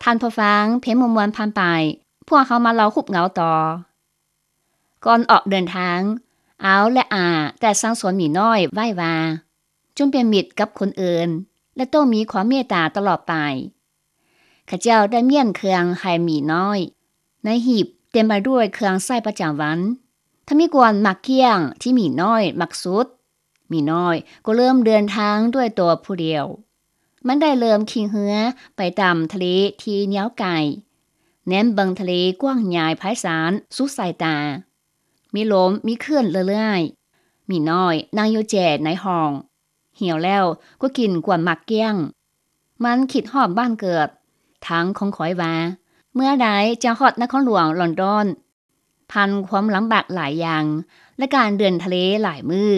ທ່ານຜູ້ຟັງ, ເພງມ່ວນໆຜ່ານໄປ, ພວກເຮົາມາເລົ່າຮູບເງົາຕໍ່. ກ່ອນອອກເດີນທາງ, ອາວ ແລະ ອາ ໄດ້ສັ່ງສອນໝີນ້ອຍໄວ້ວ່າ, ຈົ່ງເປັນມິດກັບຄົນອື່ນ ແລະ ຕ້ອງມີຄວາມເມດຕາຕະຫຼອດໄປ. ເຂົາເຈົ້າໄດ້ມ້ຽນເຄື່ອງໃຫ້ໝີນ້ອຍ. ໃນຫີບເຕັມໄປດ້ວຍເຄື່ອງໃຊ້ປະຈຳວັນ. ຖ້າມີບ່ອນໝາກກ້ຽງທີ່ໝີນ້ອຍມັກສຸດ, ໝີນ້ອຍກໍເລີ່ມເດີນທາງດ້ວຍຕົວຜູ້ດຽວ. ມັນໄດ້ເລີ່ມຂີ່ເຮືອໄປຕາມທະເລທີ່ຍາວໄກ, ແນມເບິ່ງທະເລກວ້າງໃຫຍ່ໄພສານສຸດສາຍຕາ. ມີລົມມີຄື້ນເລື້ອຍໆ. ໝີນ້ອຍນັ່ງຢູ່ແຈໃນຮ່ອງ. ຫິວແລ້ວກໍກິນກວນໝາກກ້ຽງ. ມັນຄິດຮອດບ້ານເກີດ, ທາງຂອງຂ້ອຍວ່າ, ເມື່ອໃດຈະຮອດນະຄອນຫຼວງລອນດອນ, ຜ່ານຄວາມລຳບາກຫຼາຍຢ່າງ ແລະ ການເດີນທະເລຫຼາຍມື້.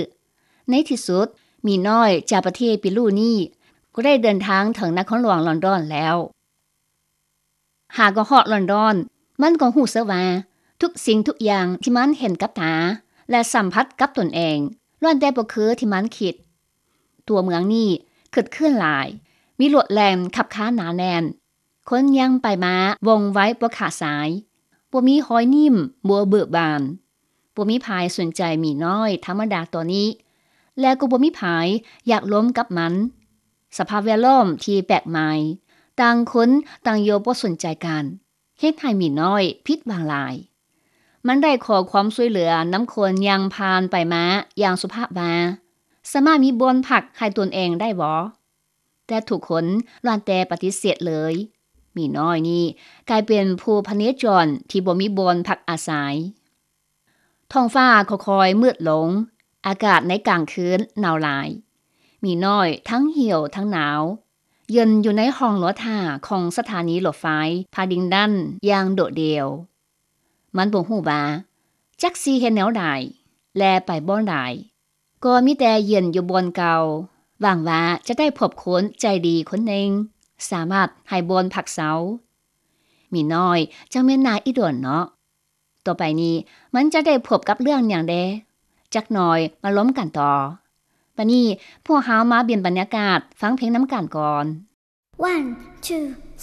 ໃນທີ່ສຸດ, ໝີນ້ອຍຈາກປະເທດເປຣູນີ້ ກໍໄດ້ເດີນທາງເຖິງນະຄອນຫຼວງລອນດອນແລ້ວ. ຫາກໍຮອດລອນດອນ, ມັນກໍຮູ້ສຶກວ່າ ທຸກສິ່ງທຸກຢ່າງທີ່ມັນເຫັນກັບຕາ ແລະ ສຳຜັດກັບຕົນເອງ ລ້ວນແຕ່ບໍ່ຄືທີ່ມັນຄິດ. ຕົວເມືອງນີ້ຄຶກຄື້ນຫຼາຍ, ມີລົດແລ່ນຂັບຄາໜາແໜ້ນ, ຄົນຍ່າງໄປມາວ່ອງໄວບໍ່ຂາດສາຍ, ບໍ່ມີຮອຍໜິ້ມບົວເບີບານ. ບໍ່ມີໃຜສົນໃຈໝີນ້ອຍທຳມະດາຕົວນີ້ ແລະ ກໍບໍ່ມີໃຜຢາກລົມກັບມັນ. ສະພາບແວດລ້ອມທີ່ແປກໃໝ່, ຕ່າງຄົນຕ່າງໂຍບໍ່ສົນໃຈກັນ, ເຮັດໃຫ້ໝີນ້ອຍຜິດຫວັງຫຼາຍ. ມັນໄດ້ຂໍຄວາມຊ່ວຍເຫຼືອນຳຄົນຍ່າງຜ່ານໄປມາຢ່າງສຸພາບວ່າ, ສາມາດມີບ່ອນພັກໃຫ້ຕົນເອງໄດ້ບໍ່? ແຕ່ທຸກຄົນລ້ວນແຕ່ປະຕິເສດເລີຍ. ໝີນ້ອຍນີ້ກາຍເປັນຜູ້ພະເນຈອນທີ່ບໍ່ມີບ່ອນພັກອາໄສ. ທ້ອງຟ້າຄ່ອຍໆມືດລົງ, ອາກາດໃນກາງຄືນໜາວຫຼາຍ. ໝີນ້ອຍທັງຫິວທັງໜາວ, ເຢັນຢູ່ໃນຫ້ອງລໍຖ້າຂອງສະຖານີລົດໄຟພາດິງຕັນຢ່າງໂດດດ່ຽວ. ມັນບໍ່ຮູ້ວ່າຈັກຊິເຮັດແນວໃດ ແລະ ໄປບ່ອນໃດ. ກໍມີແຕ່ເຢັນຢູ່ບ່ອນເກົ່າ, ຫວັງວ່າຈະໄດ້ພົບຄົນໃຈດີຄົນໜຶ່ງ, ສາມາດໃຫ້ບ່ອນພັກເຊົາ. ໝີນ້ອຍຈັ່ງແມ່ນໜ້າອີ່ຕົວເນາະ. ຕໍ່ໄປນີ້ມັນຈະໄດ້ພົບກັບເລື່ອງຫຍັງແດ່? ຈັກໜ່ອຍມາລົມກັນຕໍ່. ບັດນີ້ພວກເຮົາມາປ່ຽນບັນຍາກາດຟັງເພງນຳກັນກ່ອນ. One, two,